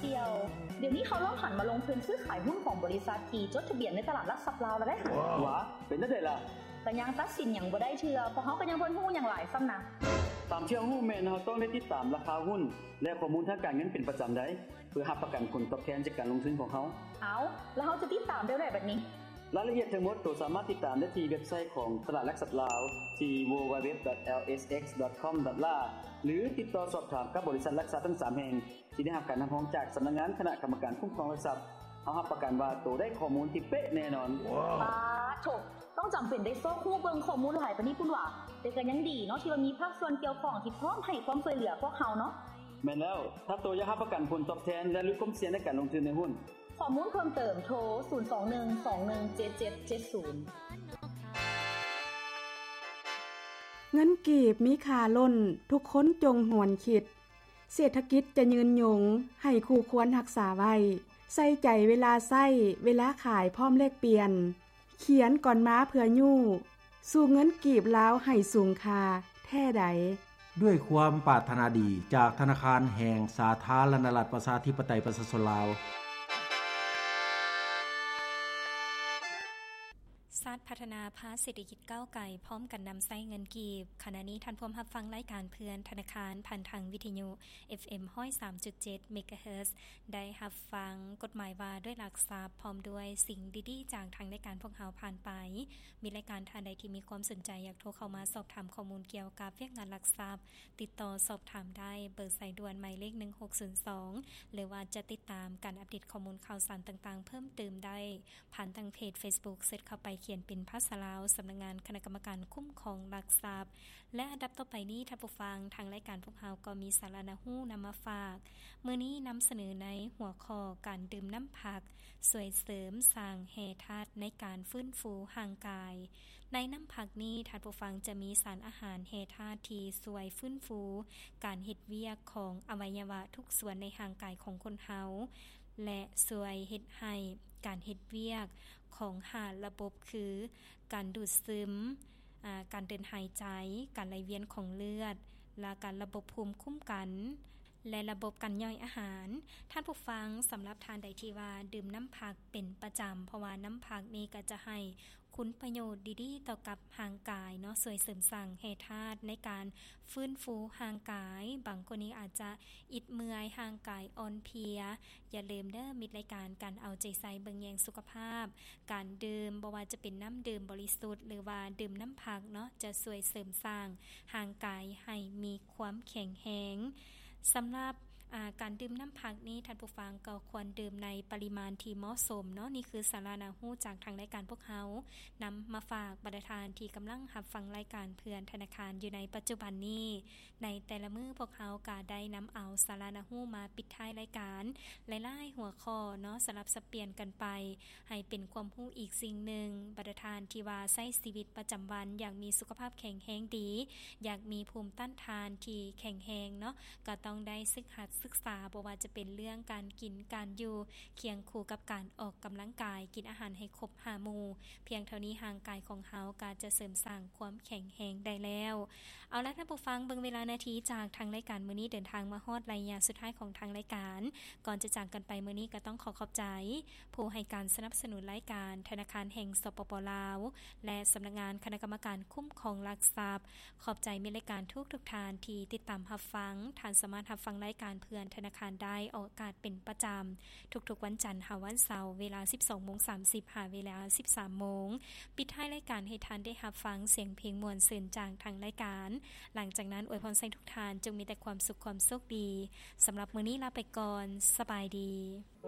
ດຽວ ດຽວນີ້ເຮົາລອງຫັນມາລົງທຶນຊື້ຂາຍຫຸ້ນຂອງບໍລິສັດທີ່ຈົດທະບຽນໃນຕະຫຼາດຫຼັກຊັບລາວແລ້ວເດ້. ຫວາ ເປັນແນວໃດລະ? ກະຍັງຕັດສິນຫຍັງບໍ່ໄດ້ເທື່ອ ເພາະເຮົາກະຍັງບໍ່ຮູ້ຫຍັງຫຼາຍຊ້ຳນະ. ຕາມທີ່ເຮົາຮູ້ແມ່ນເຮົາຕ້ອງໄດ້ຕິດຕາມລາຄາຫຸ້ນ ແລະ ຂໍ້ມູນທາງການເງິນເປັນປະຈຳໄດ໋ ເພື່ອຮັບປະກັນຜົນຕອບແທນຈາກການລົງທຶນຂອງເຮົາ. ເອົ້າ ແລ້ວເຮົາຈະຕິດຕາມແນວໃດບັດນີ້? ລາຍລະອຽດທັງໝົດໂຕສາມາດຕິດຕາມໄດ້ທີ່ເວັບໄຊຂອງຕະຫຼາດຫຼັກຊັບລາວ ທີ່ www.lsx.com.la ຫຼື ຕິດຕໍ່ສອບຖາມກັບບໍລິສັດຫຼັກຊັບທັງສາມແຫ່ງ ທີ່ໄດ້ຮັບການຮັບຮອງຈາກສຳນັກງານຄະນະກຳມະການຄຸ້ມຄອງຫຼັກຊັບ. ເຮົາຮັບປະກັນວ່າໂຕໄດ້ຂໍ້ມູນທີ່ເປະແນ່ນອນ. ປາໂທ້ ຕ້ອງຈຳເປັນໄດ້ຊອກຮູ້ເບິ່ງຂໍ້ມູນຫຼາຍປານນີ້ພຸ້ນຫວາ? ແຕ່ກະຍັງດີເນາະ ທີ່ວ່າມີພາກສ່ວນກ່ຽວຂ້ອງທີ່ພ້ອມໃຫ້ຄວາມຊ່ວຍເຫຼືອພວກເຮົາເນາະ. ແມ່ນແລ້ວ ຖ້າໂຕຢາກຮັບປະກັນຜົນຕອບແທນ ແລະ ຫຼຸດຄວາມສ່ຽງໃນການລົງທຶນໃນຫຸ້ນ. ຂໍ້ມູນເພີ່ມເຕີມໂທ ສູນສອງໜຶ່ງສອງໜຶ່ງເຈັດເຈັດເຈັດສູນ. ເງິນກີບມີຄ່າລົ້ນ ທຸກຄົນຈົ່ງຫວນຄິດ. ເສດຖະກິດຈະຍືນຍົງ ໃຫ້ຄູ່ຄວນຮັກສາໄວ້ ໃສ່ໃຈເວລາໃຊ້ ເວລາຂາຍພ້ອມແລກປ່ຽນ ຂຽນກ່ອນມາເພື່ອຍູ້ ສູ້ເງິນກີບລາວໃຫ້ສູງຄ່າແທ້ໃດ. ດ້ວຍຄວາມປາດຖະໜາດີຈາກທະນາຄານແຫ່ງສາທາລະນະລັດ ປະຊາທິປະໄຕ ປະຊາຊົນລາວ. ຊາດພັດທະນາພາກເສດຖະກິດກ້າວໄກ ພ້ອມກັນນຳໃຊ້ເງິນກີບ. ຂະນະນີ້ທ່ານພວມຮັບຟັງລາຍການເພື່ອນທະນາຄານ ຜ່ານທາງວິທະຍຸ ເອັຟເອັມຮ້ອຍສາມຈຸດເຈັດເມກາເຮີດ ໄດ້ຮັບຟັງກົດໝາຍວ່າດ້ວຍຫຼັກຊັບ ພ້ອມດ້ວຍສິ່ງດີໆຈາກທາງລາຍການພວກເຮົາຜ່ານໄປ. ມີລາຍການທ່ານໃດທີ່ມີຄວາມສົນໃຈ ຢາກໂທເຂົ້າມາສອບຖາມຂໍ້ມູນກ່ຽວກັບວຽກງານຫຼັກຊັບ, ຕິດຕໍ່ສອບຖາມໄດ້ເບີສາຍດ່ວນໝາຍເລກໜຶ່ງຫົກສູນສອງ ຫຼືວ່າຈະຕິດຕາມການອັບເດດຂໍ້ມູນຂ່າວສານຕ່າງໆເພີ່ມເຕີມໄດ້ ຜ່ານທາງເພຈເຟສບຸກ ເສີດເຂົ້າໄປຂຽນເປັນພາສາລາວ ສຳນັກງານຄະນະກຳມະການຄຸ້ມຄອງຫຼັກຊັບ. ແລະ ອັນດັບຕໍ່ໄປນີ້ ທ່ານຜູ້ຟັງ, ທາງລາຍການພວກເຮົາກໍມີສາລະໜ້າຮູ້ນຳມາຝາກ. ມື້ນີ້ນຳສະເໜີໃນຫົວຂໍ້ ການດື່ມນ້ຳຜັກ ຊ່ວຍເສີມສ້າງແຮ່ທາດໃນການຟື້ນຟູຮ່າງກາຍ. ໃນນ້ຳຜັກນີ້ ທ່ານຜູ້ຟັງຈະມີສານອາຫານແຮ່ທາດທີ່ຊ່ວຍຟື້ນຟູການເຮັດວຽກຂອງອະໄວຍະວະທຸກສ່ວນໃນຮ່າງກາຍຂອງຄົນເຮົາ ແລະ ຊ່ວຍເຮັດໃຫ້ການເຮັດວຽກຂອງຫ້າລະບົບ ຄື ການດູດຊຶມ, ອາ, ການເດີນຫາຍໃຈ, ການໄຫຼວຽນຂອງເລືອດ, ແລະ ການລະບົບພູມຄຸ້ມກັນ ແລະ ລະບົບການຍ່ອຍອາຫານ. ທ່ານຜູ້ຟັງ, ສຳລັບທ່ານໃດທີ່ວ່າດື່ມນ້ຳຜັກເປັນປະຈຳ, ເພາະວ່ານ້ຳຜັກນີ້ກໍຈະໃຫ້ຄຸນປະໂຫຍດດີໆຕໍ່ກັບຮ່າງກາຍເນາະ, ຊ່ວຍເສີມສ້າງແຮ່ທາດໃນການຟື້ນຟູຮ່າງກາຍ. ບາງຄົນນີ້ອາດຈະອິດເມື່ອຍ, ຮ່າງກາຍອ່ອນເພຍ. ຢ່າລືມເດີ ມິດລາຍການ ການເອົາໃຈໃສ່ເບິ່ງແຍງສຸຂະພາບ, ການດື່ມ ບໍ່ວ່າຈະເປັນນ້ຳດື່ມບໍລິສຸດ ຫຼືວ່າດື່ມນ້ຳຜັກເນາະ ຈະຊ່ວຍເສີມສ້າງຮ່າງກາຍໃຫ້ມີຄວາມແຂງແຮງ. ສຳລັບ ອາ ການດື່ມນ້ຳຜັກນີ້ ທ່ານຜູ້ຟັງກໍຄວນດື່ມໃນປະລິມານທີ່ເໝາະສົມເນາະ. ນີ້ຄືສາລະໜ້າຮູ້ຈາກທາງລາຍການພວກເຮົານຳມາຝາກບັນດາທ່ານທີ່ກຳລັງຮັບຟັງລາຍການເພື່ອນທະນາຄານຢູ່ໃນປັດຈຸບັນນີ້. ໃນແຕ່ລະມື້ພວກເຮົາກະໄດ້ນຳເອົາສາລະໜ້າຮູ້ມາປິດທ້າຍລາຍການຫຼາຍໆຫົວຂໍ້ເນາະ ສະຫຼັບສັບປ່ຽນກັນໄປ ໃຫ້ເປັນຄວາມຮູ້ອີກສິ່ງໜຶ່ງ. ບັນດາທ່ານທີ່ວ່າໃຊ້ຊີວິດປະຈຳວັນຢ່າງມີສຸຂະພາບແຂງແຮງດີ, ຢາກມີພູມຕ້ານທານທີ່ແຂງແຮງເນາະ, ກໍຕ້ອງໄດ້ສຶກຫັດສຶກສາ, ບໍ່ວ່າຈະເປັນເລື່ອງການກິນ, ການຢູ່, ຄຽງຄູ່ກັບການອອກກຳລັງກາຍ, ກິນອາຫານໃຫ້ຄົບຫ້າໝູ່. ພຽງເທົ່ານີ້ຮ່າງກາຍຂອງເຮົາກໍຈະເສີມສ້າງຄວາມແຂງແຮງໄດ້ແລ້ວ. ເອົາລະ ທ່ານຜູ້ຟັງ, ເບິ່ງເວລານາທີຈາກທາງລາຍການມື້ນີ້ເດີນທາງມາຮອດໄລຍະສຸດທ້າຍຂອງທາງລາຍການ. ກ່ອນຈະຈາກກັນໄປມື້ນີ້ ກໍຕ້ອງຂໍຂອບໃຈຜູ້ໃຫ້ການສະໜັບສະໜູນລາຍການ ທະນາຄານແຫ່ງ ສປປ ລາວ ແລະ ສຳນັກງານຄະນະກຳມະການຄຸ້ມຄອງຫຼັກຊັບ. ຂອບໃຈມິດລາຍການທຸກໆທ່ານທີ່ຕິດຕາມຮັບຟັງ. ທ່ານສາມາດຮັບຟັງລາຍການເພື່ອນທະນາຄານໄດ້ອອກອາກາດເປັນປະຈຳ ທຸກໆວັນຈັນຫາວັນເສົາ ເວລາສິບສອງໂມງສາມສິບ ຫາເວລາສິບສາມໂມງ. ປິດທ້າຍລາຍການໃຫ້ທ່ານໄດ້ຮັບຟັງສຽງເພງມ່ວນຊື່ນຈາກທາງລາຍການ. ຫຼັງຈາກນັ້ນອວຍພອນໃຫ້ທຸກທ່ານຈົ່ງມີແຕ່ຄວາມສຸກຄວາມໂຊກດີ. ສຳລັບມື້ນີ້ລາໄປກ່ອນ. ສະບາຍດີ.